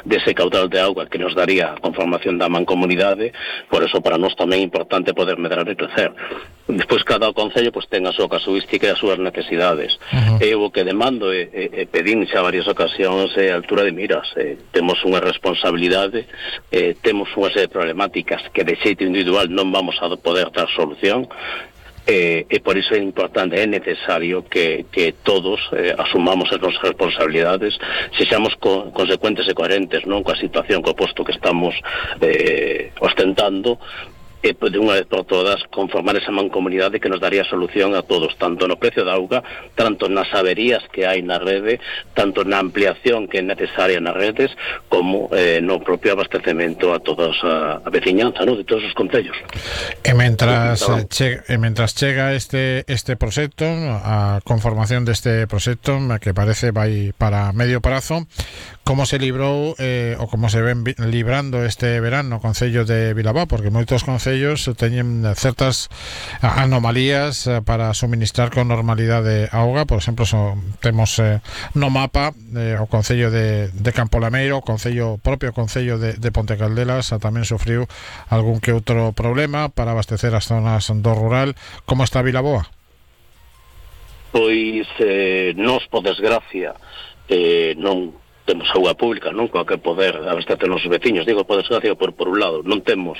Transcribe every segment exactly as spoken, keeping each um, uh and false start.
dese caudal de auga que nos daría a conformación da mancomunidade. Por eso para nós tamén é importante poder medrar e crecer. Despois cada concello pois ten a súa casuística e as súas necesidades. Uh-huh. Eu o que demando e, e, e pedín xa varias ocasións é a altura de miras. Eh, temos unha responsabilidade, eh, temos unha serie de problemáticas que de xeito individual non vamos a poder dar solución. Eh, e por iso é importante, é necesario que, que todos eh, asumamos as nosas responsabilidades, sexamos co, consecuentes e coherentes, non, coa situación, co posto que estamos eh, ostentando, e de unha vez por todas conformar esa mancomunidade que nos daría solución a todos, tanto no precio da auga, tanto nas averías que hai na rede, tanto na ampliación que é necesaria nas redes, como eh, no propio abastecemento a toda a, a veciñanza, ¿no?, de todos os concellos. E mentras, che, e mentras chega este este proxecto, a conformación deste proxecto, que parece vai para medio prazo, como se librou eh, ou como se ven librando este verán no concello de Vilabá, porque moitos concellos teñen certas anomalías para suministrar con normalidade auga. Por exemplo, so, temos eh, no mapa eh, o concello de, de Campolameiro, o concello propio concello de, de Ponte Caldelas tamén sufriu algún que outro problema para abastecer as zonas do rural. Como está Vilaboa? Pois eh, nos, por desgracia, eh, non temos auga pública, non, coa que poder abastecer os veciños. Digo por desgracia por, por un lado, non temos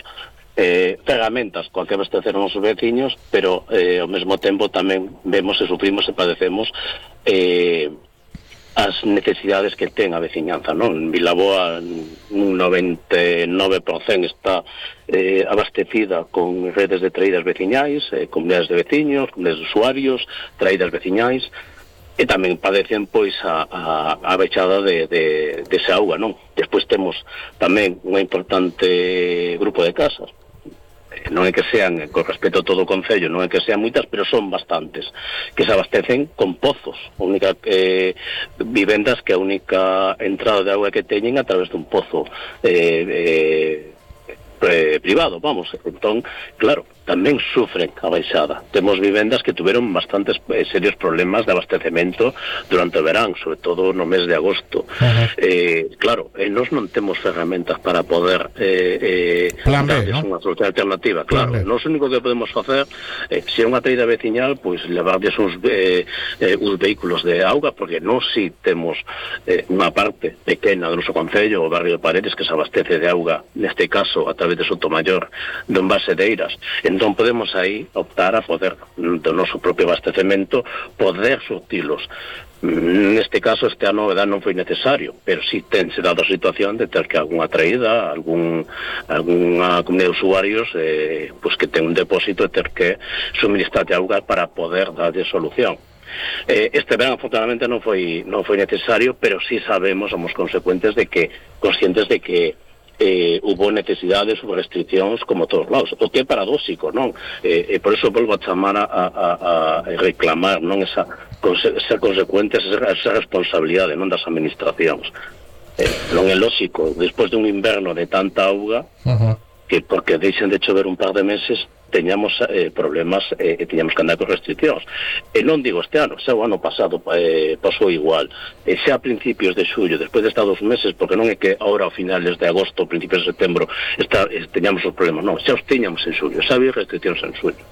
eh, ferramentas coa que abastecer os veciños, pero eh, ao mesmo tempo tamén vemos e sufrimos e padecemos eh, as necesidades que ten a veciñanza, non? En Vilaboa un noventa e nove por cento está eh, abastecida con redes de traídas veciñais, eh, comunidades de veciños, comunidades de usuarios, traídas veciñais, e tamén padecen pois a, a, a bechada de, de, de esa auga, non? Despois temos tamén unha importante grupo de casas, non é que sean, con respecto a todo o concello, non é que sean moitas, pero son bastantes, que se abastecen con pozos, única eh, vivendas que a única entrada de auga que teñen a través dun pozo eh, eh, eh, privado, vamos. Entón, claro, tamén sufren a baixada. Temos vivendas que tuveron bastantes eh, serios problemas de abastecemento durante o verán, sobre todo no mes de agosto. Uh-huh. eh, claro, eh, nós non temos ferramentas para poder eh, eh, darles, ¿no?, unha solución alternativa. Claro, nós o único que podemos facer eh, se é unha traída veciñal, pois levarles uns, eh, eh, uns vehículos de auga, porque nós si temos eh, unha parte pequena do noso concello, o barrio de Paredes, que se abastece de auga, neste caso a través de Sotomayor, do envase de Eiras. Entón podemos aí optar a poder, do noso propio abastecemento, poder surtilos. Neste caso, este ano verdad, non foi necesario, pero si tense dado a situación de ter que algunha traída, algún, algunha comunidade de usuarios eh, pues que ten un depósito e ter que suministrar de auga para poder darlle solución. Eh, este verán afortunadamente non foi, non foi necesario, pero si sabemos, somos consecuentes de que, conscientes de que Eh, hubo necesidades, hubo restriccións como todos lados, o que é paradóxico, non? Eh, e por eso volvo a chamar a, a, a reclamar, non, esa, ser consecuentes, esa, esa responsabilidade, non, das administracións. Eh, non é lógico, despois dun inverno de tanta auga, uh-huh, que porque deixen de chover un par de meses teñamos eh, problemas e eh, teñamos que andar con restriccións. E non digo este ano, xa o ano pasado eh, pasou igual. E xa a principios de xullo, despois de estar dos meses, porque non é que ahora ao finales de agosto, principios de setembro, está, eh, teñamos os problemas, non, xa os teñamos en xullo, xa había restriccións en xullo.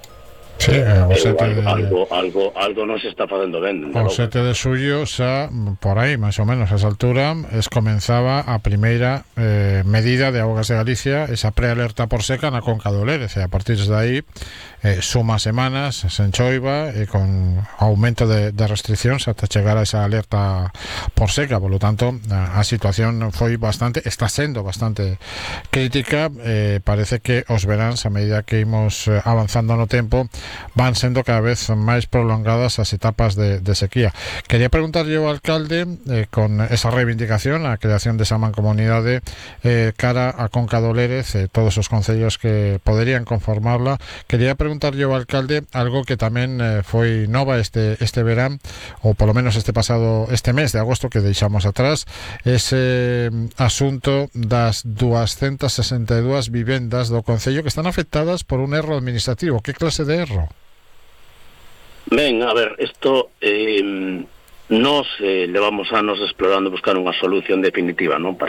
Sí, eh, o sete algo, de... algo, algo, algo non se está facendo ben. O sete de xullo xa, por aí, máis ou menos, a esa altura, es comenzaba a primeira eh, medida de Augas de Galicia, esa prealerta por seca na Conca do Lérez, e a partir de aí eh, suma semanas sen choiva e con aumento de, de restriccións ata chegar a esa alerta por seca. Por lo tanto, a, a situación foi bastante, está sendo bastante crítica. Eh, parece que os veráns, a medida que imos avanzando no tempo, van sendo cada vez máis prolongadas as etapas de, de sequía. Quería preguntarlle ao alcalde, eh, con esa reivindicación, a creación desa mancomunidade eh, cara a Conca do Lérez, eh, todos os concellos que poderían conformarla. Quería preguntarlle ao alcalde algo que tamén eh, foi nova este, este verán, ou polo menos este pasado, este mes de agosto que deixamos atrás, ese asunto das doscientas sesenta e dúas vivendas do concello que están afectadas por un erro administrativo. Que clase de erro? Ben, a ver, isto eh, nos eh, levamos anos explorando buscar unha solución definitiva, non, para